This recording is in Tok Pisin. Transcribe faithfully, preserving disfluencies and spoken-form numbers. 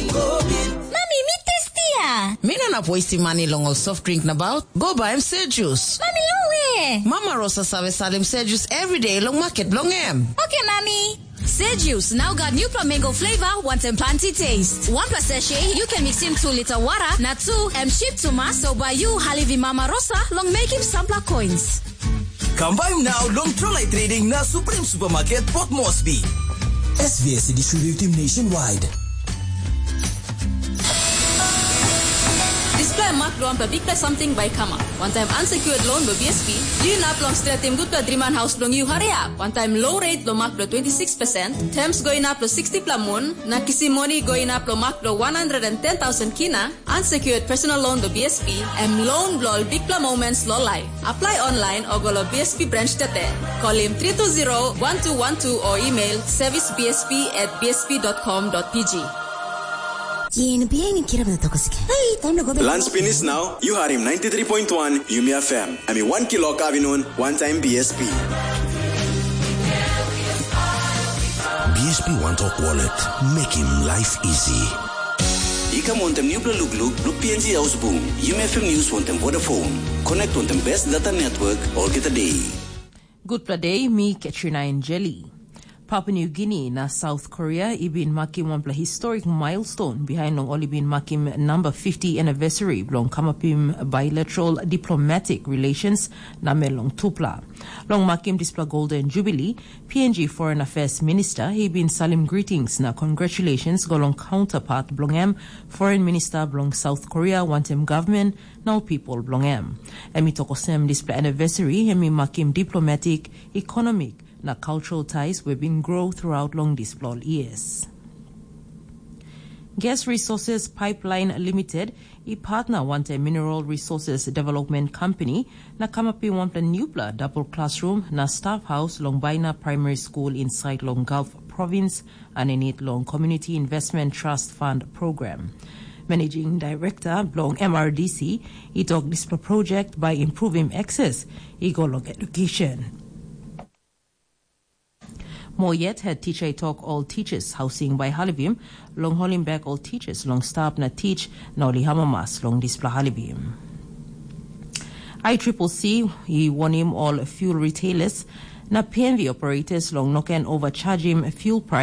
Mami, mi testia. Mi no inap wastim mani long ol soft drink nabaut. Go baim sejus. Mami, long we? Mama Rosa save salim sejus everyday long market bilong em. Okay, Mami. Sejus now got new mango flavor, wanting planty taste. One plus sachet, you can mix in two liter water, na two em cheap to mass, so by you, Halivi Mama Rosa, long make him sampler coins. Kam bai now long Trolai Trading na Supreme Supermarket Port Moresby. S V S distributing nationwide. Dispela mak bilong wanpela bikpela samting bai kamap. Wantaim unsecured loan bilong B S P, yu inap long stretim gutpela driman haus bilong yu hariap. Wantaim low rate bilong mak bilong twenty six percent, terms go inap long sixty pela mun, na kisim moni go inap long mak bilong one hundred and ten thousand kina, unsecured personal loan bilong B S P, em loan bilong ol bikpela moments long life. Apply online o go long B S P branch tete. Kolim three two zero one two one two o email service B S P at B S P dot com dot P G. Yen bihain kirap na tokos ke. Hey, time na go back. Lunch finish now. You heard him ninety-three point one Yumi F M. I mean, one kilo kavinun, one time B S P. B S P One Talk Wallet. Make him life easy. I kam wantem nupela lukluk bilong P N G Haus Bung, Yumi F M News wantem Vodafone. Connect wantem best data network olgeta day. Gutpela de, mi Katrina Enjeli. Papua New Guinea na South Korea i bin makim wanpela historic milestone behind long ol i bin makim number fifty anniversary bilong kamapim bilateral diplomatic relations na me long tupela. Long makim dispela Golden Jubilee, P N G Foreign Affairs Minister i bin salim greetings na congratulations go long counterpart bilong em, Foreign Minister bilong South Korea, wantim government na ol people bilong em. Em i tok olsem dispela anniversary em i makim diplomatic, economic na cultural ties we bin grow throughout long dispela ol years. Gas Resources Pipeline Limited i partner wantaim Mineral Resources Development Company na kamapim wanpela nupela double classroom na staff house long Baina Primary School inside long Gulf Province, aninit long Community Investment Trust Fund Program. Managing Director bilong M R D C i tok dispela project bai improvim access i go long education. Mo yet, head teacher i tok ol teachers housing bai halivim long holim bek ol teachers long stap na teach na ol i hamamas long dispela halivim. I triple C i warnim ol fuel retailers na P N V operators long no ken overchargim fuel price